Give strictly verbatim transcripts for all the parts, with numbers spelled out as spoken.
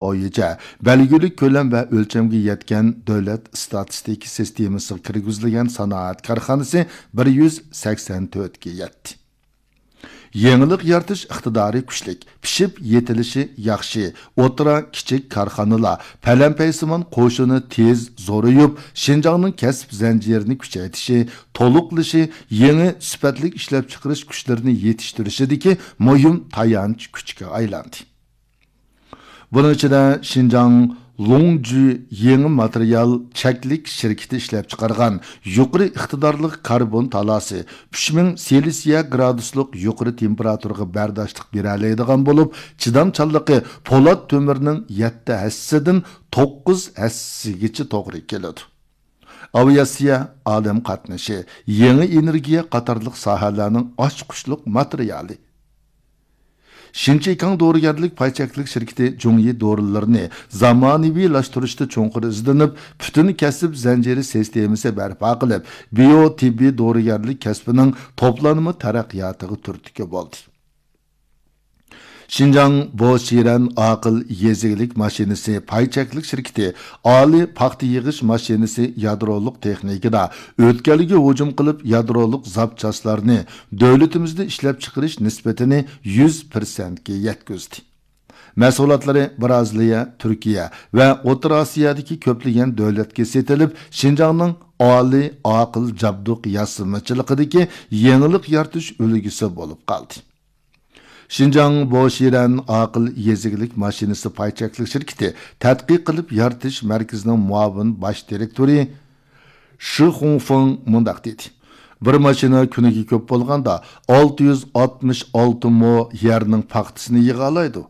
بويىچە بەلگىلىك كۆلەم ۋە ئۆلچەمگە يەتكەن دۆلەت ئىستاتىستىكا سىستېمىسىغا كىرگۈزۈلگەن سانائەت كارخانىسى بىر يۈز سەكسەن تۆتكە يەتتى. يېڭىلىق يارىتىش ئىقتىدارى كۈچلۈك، پىشىپ يېتىلىشى ياخشى، ئوتتۇرا، كىچىك كارخانىلار، پەلەمپەيسىمان قوشۇنى تېز زورىيىپ، شىنجاڭنىڭ كەسىپ زەنجىرىنى كۈچەيتىشى، تولۇقلىشى، يېڭى سۈپەتلىك ئىشلەپچىقىرىش كۈچلىرىنى يېتىشتۈرۈشىدىكى مۇھىم تايانچ كۈچكە ئايلاندى. بۇنىڭ ئىچىدە شىنجاڭ لوڭجۈ يېڭى ماتېرىيال چەكلىك شىركىتى ئىشلەپچىقارغان يۇقىرى ئىقتىدارلىق كاربون تالاسى، ئۈچ مىڭ سېلسىيە گرادۇسلۇق يۇقىرى تېمپېراتۇرىغا بەرداشلىق بېرەلەيدىغان بولۇپ، چىدامچانلىقى پولات تۆمۈرنىڭ يەتتە ھەسسىدىن توققۇز ھەسسىگىچە توغرا كېلىدۇ. ئاۋىئاتسىيە، ئادەم قاتنىشى، يېڭى ئېنېرگىيە قاتارلىق ساھەلەرنىڭ ئاچقۇچلۇق ماتېرىيالى. شىنچىكاڭ دورىگەرلىك پاي چەكلىك شىركىتى جۇڭيى دورىلىرىنى زامانىۋىلاشتۇرۇشتا چوڭقۇر ئىزدىنىپ، پۈتۈن كەسىپ زەنجىرى سىستېمىسى بەرپا قىلىپ، بىيو تېببىي دورىگەرلىك كەسپىنىڭ توپلانما تەرەققىياتىغا تۈرتكە بولدى. شىنجاڭ بوشىرەن ئاقىل يېزا ئىگىلىك ماشىنىسى پاي چەكلىك شىركىتى ئالىي پاختا يىغىش ماشىنىسى يادرولۇق تېخنىكىدا ئۆتكەلگە ھۇجۇم قىلىپ، يادرولۇق زاپچاسلارنى دۆلىتىمىزدە ئىشلەپچىقىرىش نىسبىتىنى يۈز پىرسەنتكە يەتكۈزدى. مەھسۇلاتلىرى بىرازىلىيە، تۈركىيە ۋە ئوتتۇرا ئاسىيادىكى كۆپلىگەن دۆلەتكە سېتىلىپ، شىنجاڭنىڭ ئالىي ئاقىل جابدۇق ياسىمىچىلىقىدىكى يېڭىلىق يارىتىش ئۈلگىسى بولۇپ قالدى. شىنجاڭ بوشىرەن ئاقىل يېزا ئىگىلىك ماشىنىسى پاي چەكلىك شىركىتى تەتقىق قىلىپ يارىتىش مەركىزىنىڭ مۇئاۋىن باش دىرېكتورى شى خۇڭفېڭ مۇنداق دېدى: «بىر ماشىنا كۈنىگە كۆپ بولغاندا ئالتە يۈز ئاتمىش ئالتە مو يەرنىڭ پاختىسىنى يىغالايدۇ.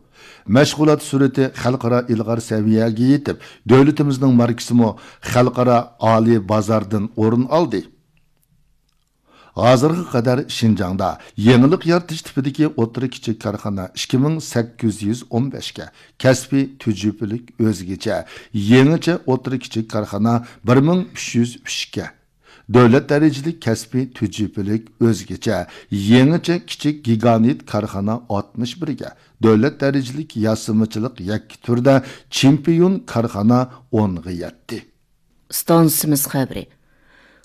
مەشغۇلات سۈرئىتى خەلقئارا ئىلغار سەۋىيەگە يېتىپ، دۆلىتىمىزنىڭ ماركىسىمۇ خەلقئارا ئالىي بازاردىن ئورۇن ئالدى.» ھازىرغا قەدەر شىنجاڭدا يېڭىلىق يارىتىش تىپىدىكى ئوتتۇرا، كىچىك كارخانا ئىككى مىڭ سەككىز يۈز ئون بەشكە، كەسپىي تۈجۈپىلىك ئۆزگىچە، يېڭىچە ئوتتۇرا، كىچىك كارخانا بىر مىڭ ئۈچ يۈز ئۈچكە، دۆلەت دەرىجىلىك كەسپىي تۈجۈپىلىك ئۆزگىچە، يېڭىچە كىچىك گىگانت كارخانا ئاتمىش بىرگە، دۆلەت دەرىجىلىك ياسىمىچىلىق يەككە تۈردە چېمپىيون كارخانا ئونغا يەتتى. ئىستانسىمىز خەۋىرى.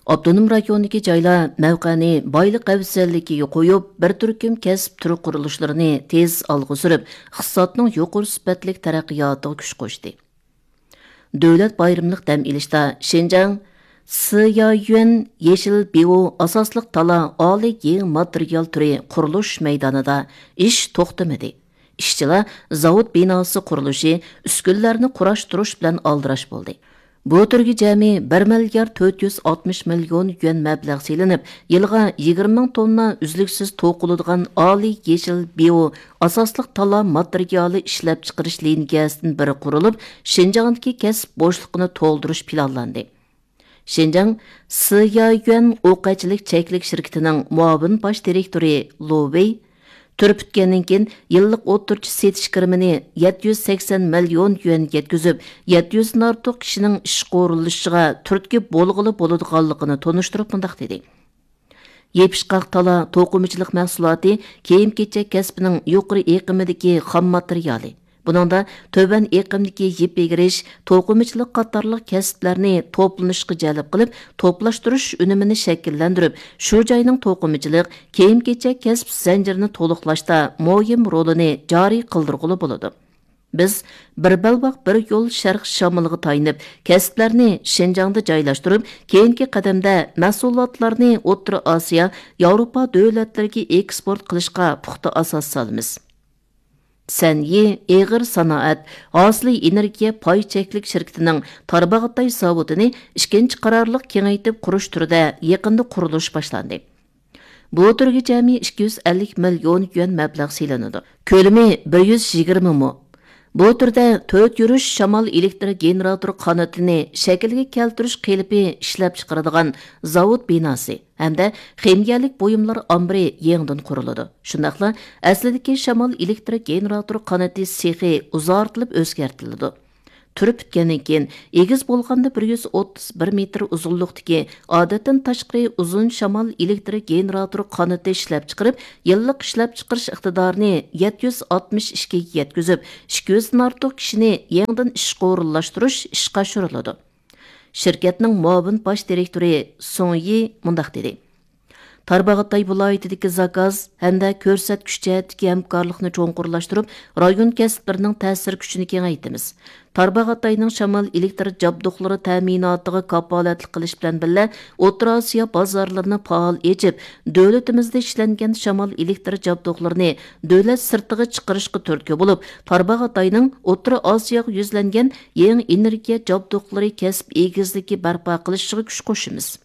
ئاپتونوم رايوندىكى جايلار مەۋقەنى بايلىق ئەۋزەللىكىگە قويۇپ، بىر تۈركۈم كەسىپ تۈرى قۇرۇلۇشلىرىنى تېز ئالغا سۈرۈپ، ئىقتىسادنىڭ يۇقىرى سۈپەتلىك تەرەققىياتىغا كۈچ قوشتى. دۆلەت بايرىملىق دەم ئېلىشتا شىنجاڭ سىيايۈەن يېشىل بىئو ئاساسلىق تالا ئالىي يېڭى ماتېرىيال تۈرى قۇرۇلۇش مەيدانىدا ئىش توختىمىدى. ئىشچىلار زاۋۇت بىناسى قۇرۇلۇشى، ئۈسكۈنىلەرنى قۇراشتۇرۇش بىلەن ئالدىراش بولدى. بۇ تۈرگە جەمئىي بىر مىليارد تۆت يۈز ئاتمىش مىليون يۈەن مەبلەغ سېلىنىپ، يىلىغا يىگىرمە مىڭ توننا ئۈزلۈكسىز توقۇلىدىغان ئالىي يېشىل بىئو ئاساسلىق تالا ماتېرىيالى ئىشلەپچىقىرىش لىنىيەسىدىن بىرى قۇرۇلۇپ، شىنجاڭدىكى كەسىپ بوشلۇقىنى تولدۇرۇش پىلانلاندى. شىنجاڭ سىيايۈەن ئوقەتچىلىك چەكلىك شىركىتىنىڭ مۇئاۋىن باش دىرېكتورى لو ۋېي تۈر پۈتكەندىن كېيىن، يىللىق ئوتتۇرىچە سېتىش كىرىمىنى يەتتە يۈز سەكسەن مىليون يۈەن يەتكۈزۈپ، يەتتە يۈزدىن ئارتۇق كىشىنىڭ ئىشقا ئورۇنلىشىشىغا تۈرتكە بولغىلى بولىدىغانلىقىنى تونۇشتۇرۇپ مۇنداق دېدى: «يېپىشقاق تالا توقۇمىچىلىق مەھسۇلاتى كىيىم-كېچەك كەسپىنىڭ يۇقىرى ئېقىمىدىكى خام ماتېرىيالى. بۇنىڭدا تۆۋەن ئېقىمدىكى يىپ ئېگىرىش، توقۇمىچىلىق قاتارلىق كەسىپلەرنى توپلىنىشقا جەلپ قىلىپ، توپلاشتۇرۇش ئۈنۈمىنى شەكىللەندۈرۈپ، شۇ جاينىڭ توقۇمىچىلىق، كىيىم-كېچەك كەسىپ زەنجىرىنى تولۇقلاشتا مۇھىم رولىنى جارى قىلدۇرغىلى بولىدۇ. بىز بىر بەلباغ، بىر يول شەرق شامىلىغا تايىنىپ، كەسىپلەرنى شىنجاڭدا جايلاشتۇرۇپ، كېيىنكى قەدەمدە مەھسۇلاتلارنى ئوتتۇرا ئاسىيا، ياۋروپا دۆلەتلىرىگە ئېكسپورت قىلىشقا پۇختا ئاساس سالىمىز.» سەنئى ئېغىر سانائەت ھاسىلى ئېنېرگىيە پاي چەكلىك شىركىتىنىڭ تارباغاتاي زاۋۇتىنى ئىككىنچى قارارلىق كېڭەيتىپ قۇرۇش تۈرىدە يېقىندا قۇرۇلۇش باشلاندى. بۇ تۈرگە جەمئىي ئىككى يۈز ئەللىك مىليون يۈەن مەبلەغ سېلىنىدۇ. كۆلىمى بىر يۈز يىگىرمە مو. بۇ تۈردە تۆت يۈرۈش شامال ئېلېكتر گېنېراتور قانىتىنى شەكىلگە كەلتۈرۈش قېلىپى ئىشلەپچىقىرىدىغان زاۋۇت بىناسى ھەمدە خىمىيەلىك بۇيۇملار ئامبىرى يېڭىدىن قۇرۇلىدۇ. شۇنداقلا ئەسلىدىكى شامال ئېلېكتر گېنېراتور قانىتى سېخى ئۇزارتىلىپ ئۆزگەرتىلىدۇ. تۈرى پۈتكەندىن كېيىن، ئېگىز بولغاندا بىر يۈز ئوتتۇز بىر مېتىر ئۇزۇنلۇقتىكى ئادەتتىن تاشقىرى ئۇزۇن شامال ئېلېكتر گېنېراتور قانىتى ئىشلەپچىقىرىپ، يىللىق ئىشلەپچىقىرىش ئىقتىدارىنى يەتتە يۈز ئاتمىش ئىككىگە يەتكۈزۈپ، ئىككى يۈزدىن ئارتۇق كىشىنى يېڭىدىن ئىشقا ئورۇنلاشتۇرۇش ئىشقا ئاشۇرۇلىدۇ. شىركەتنىڭ مۇئاۋىن باش دىرېكتورى سۇڭ يى مۇنداق دېدى: تارباغاتاي ۋىلايىتىدىكى زاكاز ھەمدە كۆرسەتكۈچ جەھەتتىكى ھەمكارلىقنى چوڭقۇرلاشتۇرۇپ، رايون كەسىپلىرىنىڭ تەسىر كۈچىنى كېڭەيتىمىز. تارباغاتاينىڭ شامال ئېلېكتر جابدۇقلىرى تەمىناتىغا كاپالەتلىك قىلىش بىلەن بىللە، ئوتتۇرا ئاسىيا بازارلىرىنى پائال ئېچىپ، دۆلىتىمىزدە ئىشلەنگەن شامال ئېلېكتر جابدۇقلىرىنى دۆلەت سىرتىغا چىقىرىشقا تۈرتكە بولۇپ، تارباغاتاينىڭ ئوتتۇرا ئاسىياغا يۈزلەنگەن يېڭى ئېنېرگىيە جابدۇقلىرى كەسىپ ئېگىزلىكى بەرپا قىلىشىغا كۈچ قوشىمىز.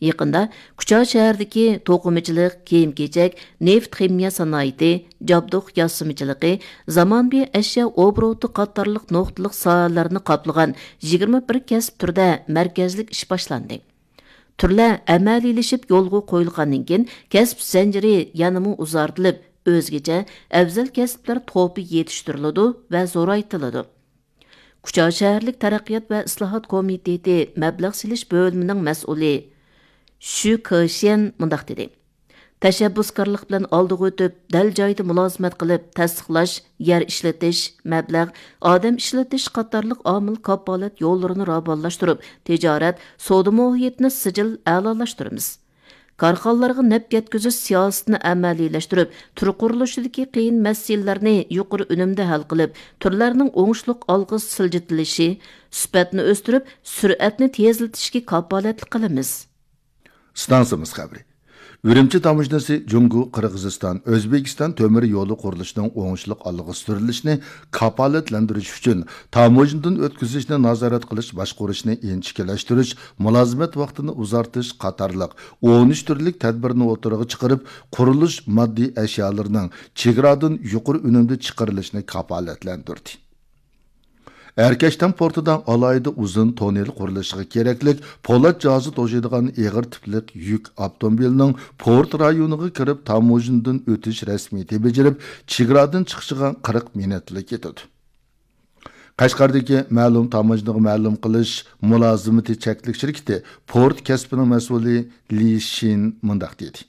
يېقىندا كۇچا شەھىرىدىكى توقۇمىچىلىق، كىيىم-كېچەك، نېفىت خىمىيە سانائىتى، جابدۇق ياسىمىچىلىقى، زامانىۋى ئەشيا ئوبوروتى قاتارلىق نۇقتىلىق ساھەلەرنى قاپلىغان يىگىرمە بىر كەسىپ تۈرىدە مەركەزلىك ئىش باشلاندى. تۈرلەر ئەمەلىيلىشىپ يولغا قويۇلغاندىن كېيىن، كەسىپ زەنجىرى يەنىمۇ ئۇزارتىلىپ، ئۆزگىچە ئەۋزەل كەسىپلەر توپى يېتىشتۈرۈلىدۇ ۋە زورايتىلىدۇ. كۇچا شەھەرلىك تەرەققىيات ۋە ئىسلاھات كومىتېتى مەبلەغ سېلىش بۆلۈمىنىڭ مەسئۇلى شۈ كېشيەن مۇنداق دېدى: تەشەببۇسكارلىق بىلەن ئالدىغا ئۆتۈپ، دەل جايىدا مۇلازىمەت قىلىپ، تەستىقلاش، يەر ئىشلىتىش، مەبلەغ، ئادەم ئىشلىتىش قاتارلىق ئامىل كاپالەت يوللىرىنى راۋانلاشتۇرۇپ، تىجارەت، سودا مۇھىتىنى سىجىل ئەلالاشتۇرىمىز. كارخانىلارغا نەپ يەتكۈزۈش سىياسىتىنى ئەمەلىيلەشتۈرۈپ، تۈر قۇرۇلۇشىدىكى قىيىن مەسىلىلەرنى يۇقىرى ئۈنۈمدە ھەل قىلىپ، تۈرلەرنىڭ ئوڭۇشلۇق ئالغا سىلجىتىلىشى، سۈپەتنى ئۆستۈرۈپ، سۈرئەتنى تېزلىتىشكە كاپالەتلىك قىلىمىز. ئىستانسىمىز خەۋىرى. ئۈرۈمچى تاموژنىسى جۇڭگو، قىرغىزىستان، ئۆزبېكىستان تۆمۈر يولى قۇرۇلۇشىنىڭ ئوڭۇشلۇق ئالغا سۈرۈلۈشىنى كاپالەتلەندۈرۈش ئۈچۈن تاموژنىدىن ئۆتكۈزۈشنى نازارەت قىلىش باشقۇرۇشنى ئىنچىكىلەشتۈرۈش، مۇلازىمەت ۋاقتىنى ئۇزارتىش قاتارلىق ئون ئۈچ تۈرلۈك تەدبىرنى ئوتتۇرىغا چىقىرىپ، قۇرۇلۇش ماددىي ئەشيالىرىنىڭ چېگرادىن يۇقىرى ئۈنۈمدە چىقىرىلىشىنى كاپالەتلەندۈردى. ئەركەشتام پورتىدا ئالاھىدە ئۇزۇن توننېل قۇرۇلۇشىغا كېرەكلىك پولات جاھازى توشۇيدىغان ئېغىر تىپلىق يۈك ئاپتوموبىلىنىڭ پورت رايونىغا كىرىپ، تاموژنىدىن ئۆتۈش رەسمىيىتى بېجىرىپ، چېگرادىن چىقىشىغا قىرىق مىنۇتلا كېتىدۇ. قەشقەردىكى مەلۇم تاموژنىغا مەلۇم قىلىش مۇلازىمىتى چەكلىك شىركىتى پورت كەسپىنىڭ مەسئۇلى لى شىن مۇنداق دېدى: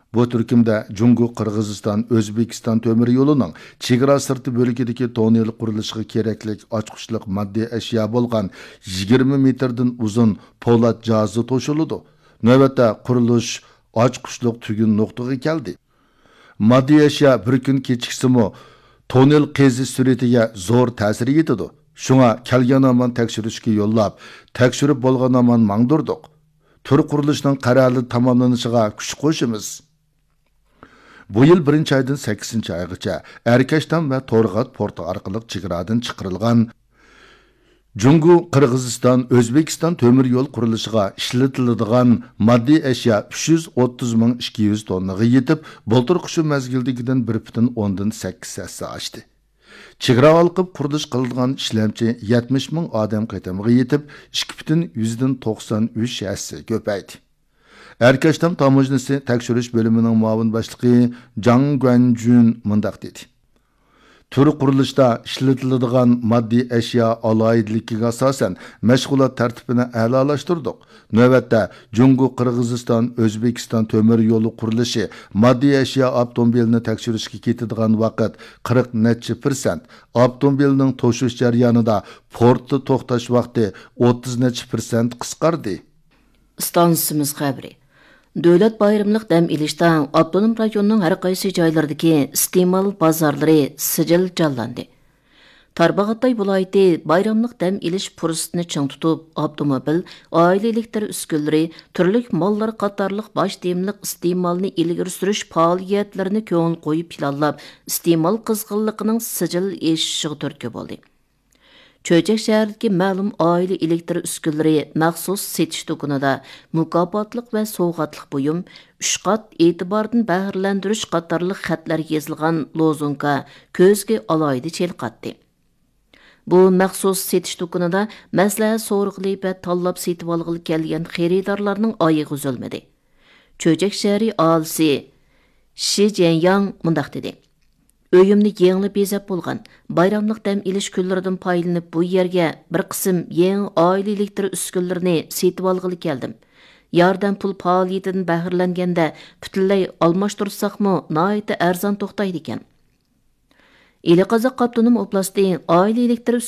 بۇ تۈركۈمدە جۇڭگو، قىرغىزىستان، ئۆزبېكىستان تۆمۈر يولىنىڭ چېگرا سىرتى بۆلىكىدىكى توننېل قۇرۇلۇشىغا كېرەكلىك ئاچقۇچلۇق ماددىي ئەشيا بولغان يىگىرمە مېتىردىن ئۇزۇن پولات جاھازى توشۇلىدۇ. نۆۋەتتە قۇرۇلۇش ئاچقۇچلۇق تۈگۈن نۇقتىغا كەلدى. ماددىي ئەشيا بىر كۈن كېچىكسىمۇ، توننېل قېزىش سۈرئىتىگە زور تەسىر يېتىدۇ. شۇڭا كەلگەن ھامان تەكشۈرۈشكە يوللاپ، تەكشۈرۈپ بولغان ھامان ماڭدۇردۇق. تۈر قۇرۇلۇشنىڭ قەرەللىك تاماملىنىشىغا كۈچ قوشىمىز. بۇ يىل بىرىنچى ئايدىن سەككىزىنچى ئايغىچە ئەركەشتام ۋە تورغات پورتى ئارقىلىق چېگرادىن چىقىرىلغان جۇڭگو، قىرغىزىستان، ئۆزبېكىستان تۆمۈر يول قۇرۇلۇشىغا ئىشلىتىلىدىغان ماددىي ئەشيا ئۈچ يۈز ئوتتۇز مىڭ ئىككى يۈز توننىغا يېتىپ، بۇلتۇرقى شۇ مەزگىلدىكىدىن بىر پۈتۈن ئوندىن سەككىز ھەسسە ئاشتى. چېگرا ھالقىپ قۇرۇلۇش قىلىدىغان ئىشلەمچى يەتمىش مىڭ ئادەم قېتىمىغا يېتىپ، ئىككى پۈتۈن يۈزدىن توقسان ئۈچ ھەسسە كۆپەيدى. ئەركەشتام تاموژنىسى تەكشۈرۈش بۆلۈمىنىڭ مۇئاۋىن باشلىقى جاڭ گۇەنجۈن مۇنداق دېدى: تۈر قۇرۇلۇشتا ئىشلىتىلىدىغان ماددىي ئەشيا ئالاھىدىلىكىگە ئاساسەن، مەشغۇلات تەرتىپىنى ئەلالاشتۇردۇق. نۆۋەتتە، جۇڭگو، قىرغىزىستان، ئۆزبېكىستان تۆمۈر يولى قۇرۇلۇشى ماددىي ئەشيا ئاپتوموبىلىنى تەكشۈرۈشكە كېتىدىغان ۋاقىت قىرىق نەچچە پىرسەنت، ئاپتوموبىلنىڭ توشۇش جەريانىدا پورتتا توختاش ۋاقتى ئوتتۇز نەچچە پىرسەنت قىسقاردى. ئىستانسىمىز خەۋىرى. دۆلەت بايراملىق دەم ئېلىشتا ئاپتونوم رايوننىڭ ھەر قايسى جايلىرىدىكى ئىستېمال بازارلىرى سىجىل جانلاندى. تارباغاتاي ۋىلايىتى بايراملىق دەم ئېلىش پۇرسىتىنى چىڭ تۇتۇپ، ئاپتوموبىل، ئائىلە ئېلېكتر ئۈسكۈنىلىرى، تۈرلۈك ماللار قاتارلىق باش تېمىلىق ئىستېمالنى ئىلگىرى سۈرۈش پائالىيەتلىرىنى كۆڭۈل قويۇپ پىلانلاپ، ئىستېمال قىزغىنلىقىنىڭ سىجىل ئېشىشىغا تۈرتكە بولدى. چۆچەك شەھىرىدىكى مەلۇم ئائىلە ئېلېكتر ئۈسكۈنىلىرى مەخسۇس سېتىش دۇكىنىدا مۇكاپاتلىق ۋە سوۋغاتلىق بۇيۇم، ئۈچ قات ئېتىباردىن بەھرىلەندۈرۈش قاتارلىق خەتلەر يېزىلغان لوزۇنكا كۆزگە ئالاھىدە چېلىقاتتى. بۇ مەخسۇس سېتىش دۇكىنىدا مەسلىھەت سورىغىلى ۋە تاللاپ سېتىۋالغىلى كەلگەن خېرىدارلارنىڭ ئايىغى ئۈزۈلمىدى. چۆچەك شەھىرى ئاھالىسى شى جيەنياڭ مۇنداق دېدى: ئۆيۈمنى يېڭىلا بېزەپ بولغان. بايراملىق دەم ئېلىش كۈنلىرىدىن پايدىلىنىپ، بۇ يەرگە بىر قىسىم يېڭى ئائىلە ئېلېكتر ئۈسكۈنىلىرىنى سېتىۋالغىلى كەلدىم. ياردەم پۇل پائالىيىتىدىن بەھرىلەنگەندە پۈتۈنلەي ئالماشتۇرساقمۇ ناھايىتى ئەرزان توختايدىكەن. ئىلى قازاق ئاپتونوم ئوبلاستى ئائىلە ئېلېكتر